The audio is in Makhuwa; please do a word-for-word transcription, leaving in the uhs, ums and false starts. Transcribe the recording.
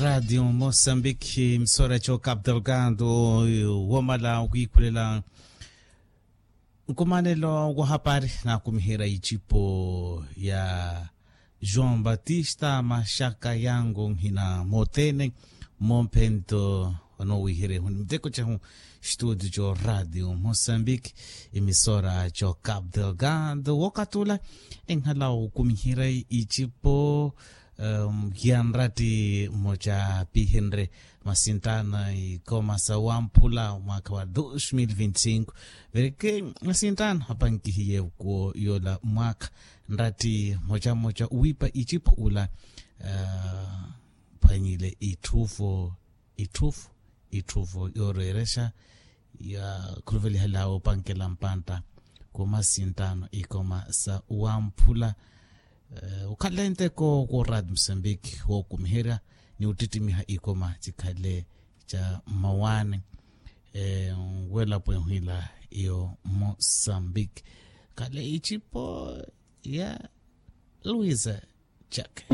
Raatiyo mosambiki emisora cokapu delgado womala okwiikhulela nkumanelo wa hapari naakumiherya icipo ya joão batista maxaka yango nhina mothene. Mmompento onoowiherya ehu ni miteko cehu situti coraatiyo mosambiki emisora cokapu delgado wookatula enhala okumiherya icipo. Hiya nratti mmoca pihenrye masintano ikoma sa wamphula mwaakha wa dos mil vinti cinco. Vereke masintano apankihiye kuwo yoola mwaakha nratti mmoca mmoca owiipa icipo ula phwanyile itthufo itthufo itthufo yoorweerexa ya khuluvelihelaya opankela mpantta ku masintano ikoma sa wamphula. Okhala enteko ku raati musambiki wookumiherya ni ottittimiha ikoma cikhale ca mmawaani. Nwelapo ehwila iyo musambiki khale icipo ya luisa cake.